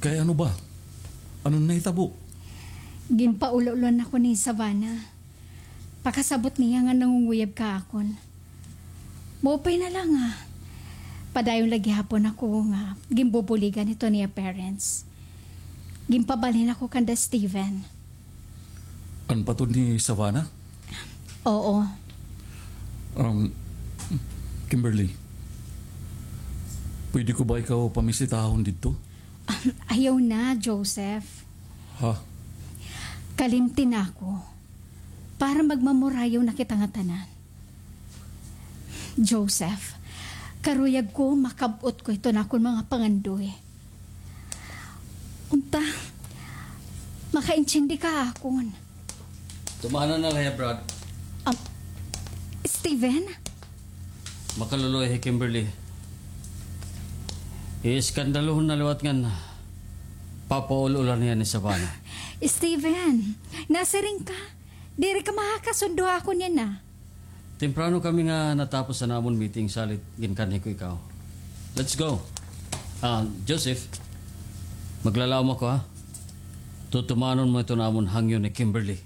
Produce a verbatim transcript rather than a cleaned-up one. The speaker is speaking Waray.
Kay ano ba? Ano nahitabo? Ginpaul-ulan ako ni Savannah. Pakasabot niya nga nangunguyab ka akon. Maupay na la nga padayon la gihapon ako nga ginbubuligan hiton iya parents. Ginpabalhin ako kanda Steven. An patod ni Savannah? Oo. Um, Kimberly, pwede ko ba ikaw pamisitahon didto? Ayaw na, Joseph. Ha? Kalimti na ako. Para magmamurayaw na kita ngatanan. Joseph, karuyag ko makab-ot ko iton akon mga pangandoy. Unta, makaintindi ka akon. Tumanon na la hiya, Brad. Um, Steven? Makaluluoy hi Kimberly. Iiskandalohon na liwat ngan papaul-ulan hiya ni Savannah. Steven, nasiring ka? Diri ka makakasundo ha akon yana. Temprano kami nga natapos an amon meeting, salit ginkanhi ko ikaw. Let's go. Ah, Joseph, maglalaom ako, ha. Tutumanon mo iton amon hangyo ni Kimberly.